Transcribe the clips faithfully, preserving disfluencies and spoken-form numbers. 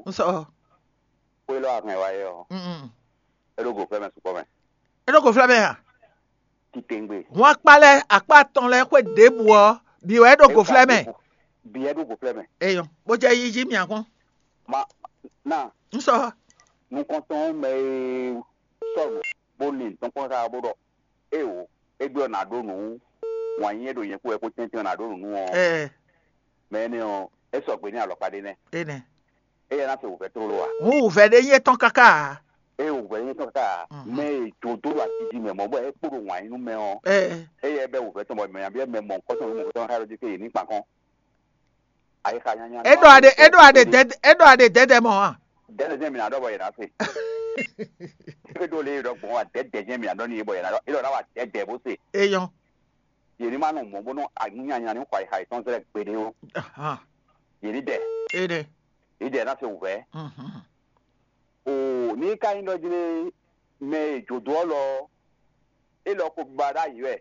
Un sɔ. Xwé lɔ ahɛn wa yɛ ɔ, Mm. é ɖo go flɛ́ mɛ sukpɔ́ mɛ. É ɖo go flɛ́ mɛ a? Titengbe. Hun akpa lɛ́ɛ akpa atɔn lɛ́ɛ xwé ɖěbǔ ɔ́, bǐ wɛ é ɖo go flɛ́ mɛ. Biyɛ ɖo go flɛ́ mɛ. Eyɔn, bó jẹ́ yíyí mì akɔn. Ma na Un sɔ. nukɔntɔn mɛ e sɔnu bó lin tɔn kpɔn xá bó ɖɔ, é o, é ɖɔ nǎ ɖó nǔ wǎn yí é ɖo nyɛ kú wɛ kó tɛ́ntɛ́n nǎ ɖó nǔ nú ɔ, Ɛ mɛ énɛ́ ɔ́, é sɔgbe ní alɔkpa ɖé nɛ́. Énɛ́. Éyɛ́ ná se wǔvɛ́ tlóló a? Hǔn wǔvɛ́ ɖé nyí étɔn káká a? É wǔvɛ́ nyí tɔn ká a? Mhm. Mɛ e jǒ dó ɖo atiji mɛ mɔ̌ bɔ é kpó ɖo wǎn yí nú mɛ ɔ́, Ɛ éyɛ́ bɛ́ wǔvɛ́ tɔn bɔ mɛ nyabíyɛ mɛ mɔ nukɔn tɔn nukɔn tɔn xá ɖɔ dé ké yě ní kpan kɔn. Ayixa nyanya. É ɖɔ aɖe é ɖɔ aɖe dɛdɛ é ɖɔ aɖe dɛdɛ mɔ a? Dɛdɛ jẹ́ mi ná ɖɔ bɔ yě ná se. É ɖo lé ɖɔ gbɔn wa dɛdɛ jẹ́ mi ná ɖɔ ní yé bɔ yě ná ɖɔ é ɖɔ ná wa dɛdɛ bó se. Eyɔn. Yě ní má nɔ mɔ bó nɔ anyanya ní xɔ ayixa yětɔn zlɛ gbeɖé ó. Ahan. Yě ní dɛ Énɛ́. Yě dɛ ná se wǔvɛ́. Mhm. O ní ka nyí ɖɔ jlé mɛ e jǒdó ɔ́ lɔ é lɔ ko ba ɖ'ayǐ wɛ.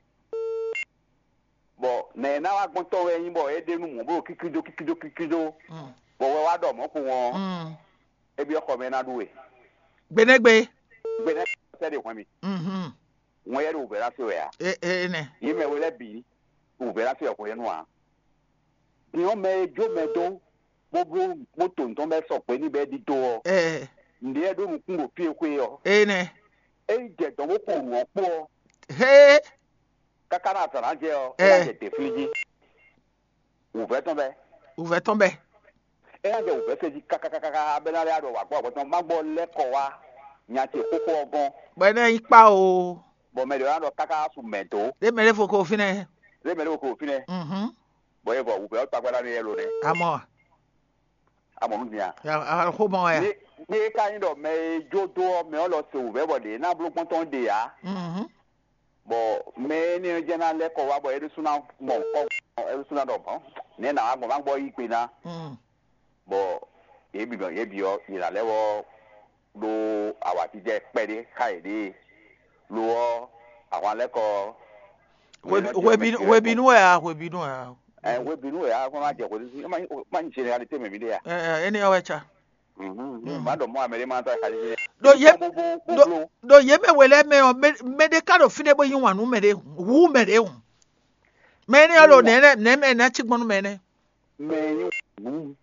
Bɔ nɛ̌ é ná wá gbɔn tɔn wɛ é nyí bɔ é ɖe nú mɔ̌ bó ɖo kíkídó kíkídó kíkídó Mm. bɔ wɛ wá ɖɔ mɔ̌ kpowun ɔ́, Mm. é byɔ́ xɔ mɛ é ná ɖu we. Gbeɖégbé. Gbe nɛ́ sɛ́ ɖe hwɛn mi. Mhm. Wɛn yɛ ɖo wǔvɛ́ ná se wɛ ǎ. É- é- Énɛ́. Yě mɛ we lɛ́ bǐ wǔvɛ́ ná se wɛ hwenu ǎ. Din ɔ́ mɛ e jó mɛ dó bó bló bó to nǔ tɔn bɛ́ sɔgbe ní bɛ́ ɖidó ɔ́, Ɛ nǔɖé wɛ ɖó nukún ɖo fí e xwé ɔ́. Énɛ́. É yi jɛ dɔ̌n bó xo nǔ ɔ́ kpó ɔ́, Hé. káká ná azǎn ná jɛ ɔ́, Ɛ. é ná jɛ dě flí jí. Wǔvɛ́ tɔn bɛ́. Wǔvɛ́ tɔn bɛ́. É ná jɛ wǔvɛ́ se jí kákákáká bɛ́ ná lɛ́ ɖɔ wǎ gbɔ wǎ gbɔ tɔn má gbɔ lɛ́ kɔ wá nya ce xóxó ɔ́ gɔ́n. Bɔ é ná nyí kpá o. Bɔ mɛ ɖě ná ɖɔ káká su mɛ dó. Ɖé mɛ ɖé fo ko fínɛ́. Lé mɛ ɖé ko fínɛ́. Mhm. Bɔ é vɔ wǔvɛ́ ɔ́ tagbáɖá ní yɛ ló nɛ́. Amɔ. Amɔ nú din a? Axomɔ wɛ. Ní ní é ka nyí ɖɔ mɛ e jó dó ɔ́ mɛ ɔ́ lɔ se wǔvɛ́ bɔ ɖě ná bló kpɔ́ntɔn ɖe ǎ. Mhm. Bɔ mɛ énɛ́ ɔ́ jɛ́n ná lɛ́ kɔ wá bɔ é ɖésú ná mɔ kɔ́ é ɖésú ná ɖɔ hɔn nɛ̌ nǎ wá gbɔn má gbɔ yí gbe ná. Mhm. Bɔ yě bǐ yě bǐ ɔ́ yě ná lɛ́ wɔ ɖó awǎjijɛ kpɛɖé xá yěɖée lo ɔ́ ahwan lɛ́ kɔ. Hwebi- hwebi- hwebinu wɛ a hwebinu wɛ a? Ɛ hwebinu wɛ a kɔn ná jɛ hwebinu má má nyi généralité mɛ mi ɖe ya. Ɛ ɛ, énɛ́ ɔ́ wɛ ca. Mhm má ɖɔ mɔ amɛ ɖé má tɔ xali. Ɖo yě- Bó bó ɖo- Ɖo yě mɛ we lɛ́ɛ mɛ ɔ́, mɛ- mɛ ɖé ka ɖo fínɛ́ bó yí wǎn nú mɛ ɖé hu mɛ ɖé hu. Mɛ énɛ́ ɔ́ ɖo nɛ̌ nɛ̌ mɛ ná cí gbɔn nú mɛ énɛ́? Mɛ nyí wǔ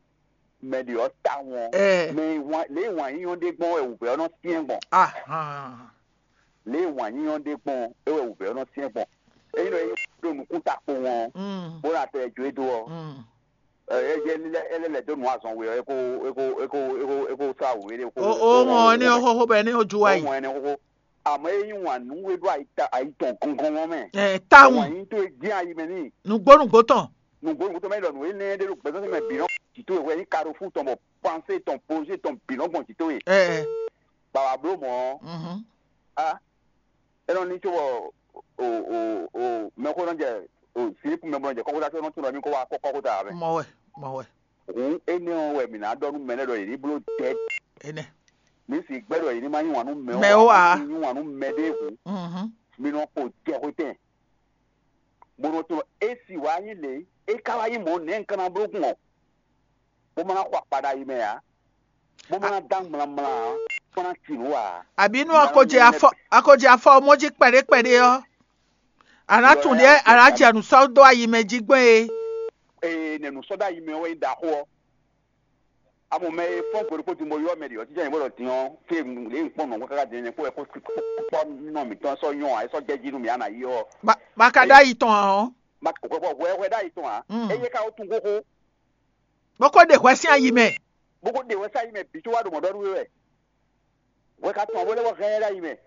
mɛ ɖě ɔ́ ta wɔn. Ɛ. Mɛ wǎn lě wǎn yíyɔ́n ɖé gbɔn wɛ wǔvɛ́ ɔ́ nɔ syɛ́n gbɔn. Ahan. Lě wǎn yíyɔ́n ɖé gbɔn é wɛ wǔvɛ́ ɔ́ nɔ syɛ́n gbɔn. Ényí ɖɔ é ɖo nukún ta kpowun ɔ́, Mm. bó ná tɛ jó é dó ɔ́, Mm. ɛ, é jẹ́ lílẹ̀ é lɛ́ lɛ̌ dó nǔ azɔn we ɔ́, é kó é kó é kó é kó é kó sá wǔ é kó. O o mɔ ní o xoxo bɛ ní o ju wa Ó yi. mɔ ɛnɛ xóxó. Àmọ́ é nyí wǎn nú é ɖó ayi ta- ayi tɔn gɔngɔn mɛ. Ɛ, ta Wǎn ŋu yí tó é dín ayi mɛ n'i. Nugbo nugbo tɔn. Nǔgbó nǔgbó tó mɛ ɖɔ nǔ énɛ́ ɖé ɖo gbɛzɔ́ mɛ bǐ nɔ jǐ towe hwɛ nyí kaɖofú tɔn bɔ pansé tɔn pozé tɔn bǐ nɔ gbɔn jǐ towe. Ɛ Baba bló mɔ̌ mhm. a é nɔ ní có bɔ o o o mɛxó nɔ jɛ o sílípù mɛ bɔ nɔ jɛ kɔ́xóta tó nɔ tún nɔ mí kó wá kɔ́xóta mɛ. Mɔ wɛ mɔ wɛ. Hǔn énɛ́ ɔ́ wɛ mǐ ná ɖɔ nú mɛ lɛ́ɛ ɖɔ yě ní bló dɛ̌. Énɛ́. Mǐ sì gbɛ́ ɖɔ yě ní má yí wǎn nú mɛ Mɛ ó ǎ. Yí wǎn nú mɛ ɖé hǔn. Mhm. Mi nɔ xo jɛxwetɛn, bó nɔ tunɔ. Esi wǎ nyí lě é ka wá nyí mɔ̌ nɛ̌ un ka ná bló gbɔn ɔ́, bó ma ná xɔ akpa ɖo ayi mɛ ǎ, bó ma ná dán mlamla ǎ, bó ma ná ci nǔ ǎ. Àbí inú akɔjɛ afɔ akɔjɛ afɔ mɔ jí kpɛɖé kpɛɖé ɔ́, àná tún ɖíɛ àná jɛ nǔ sɔ́ dó ayi mɛ jí gbɔn é. Ee, nɛ nǔ sɔ́ ɖo ayi mɛ ɔ́ wɛ nyí ɖaxó ɔ́. Amɔ mɛ e fɔ́n gbe ɖokpó din bó ylɔ́ mɛ ɖě ɔ́, títí nyɛ bó ɖɔ din ɔ́, fí e lě un kpɔ́n nɔ̌ káká din ɔ́, kpó wɛ kó kpɔ́ nɔ mǐtɔn sɔ́ nyɔ́ ǎ, é sɔ́ jɛ jí nú mì á nǎ yi ɔ́. Ba ka ɖó ayi tɔn ǎ ɔ́. Hwɛ hwɛ ɖó ayi tɔn ǎ. Mm. Eye ka ó tún xóxó. Bó kó ɖe hwɛ sín ayi mɛ. Bó kó ɖe hwɛ sín ayi mɛ bǐ tó wá ɖo mɔ̌ ɖɔ nú we wɛ. Hwɛ ka tɔn bó lɛ́ wɔ hɛn ɛ ɖó ayi mɛ.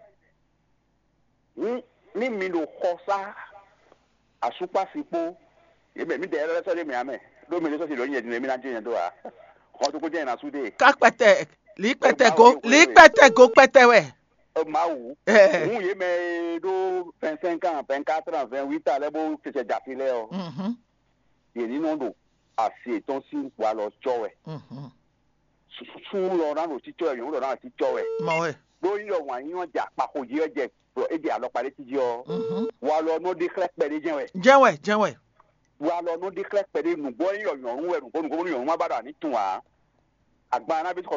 Ní ní mi ɖo xɔsá asúkpási kpó yě mɛ mǐdɛɛ lɛ́ɛ sɔ́ ɖé mɛ ǎ mɛ, ɖó mi ɖé sɔ́ si ɖǒ nyɛ din mi ná jɛ nyɛ dó ǎ. Xɔ tó kó jẹ́ nyɛ ná sú dé. Ká kpɛtɛ lǐ kpɛtɛ go lǐ kpɛtɛ go kpɛtɛ wɛ. Mawu. Ɛ. Hǔn yě mɛ e ɖó vingt-cinq ans, vingt-quatre ans, vingt-huit ans lɛ́ɛ bó cɛcɛ jɛ afi lɛ́ɛ ɔ́, Mhm. yě ní nɔ ɖo asi yětɔn sín walɔ cɔ́ wɛ. Mhm. Sú lɔ ná ɖo cícɔ́ wɛ, nyɔ̌nu lɔ ná ɖo cícɔ́ wɛ. Mɔ wɛ. Ɖó nyí ɖɔ wǎn nyí ɔ́ jɛ akpaxo jí wɛ jɛ ɖɔ é jɛ alɔkpa ɖé cí jí ɔ́, Mhm. walɔ nɔ ɖe xlɛ́ kpɛɖé jɛ́n wɛ. Jɛn wɛ jɛn wɛ. Walɔ nɔ ɖe xlɛ́ kpɛɖé nǔgbó nyí ɖɔ nyɔ̌nu wɛ nǔgbó nǔgbó nú nyɔ̌nu má ba ɖo anǐ tun ǎ. Agban ná bí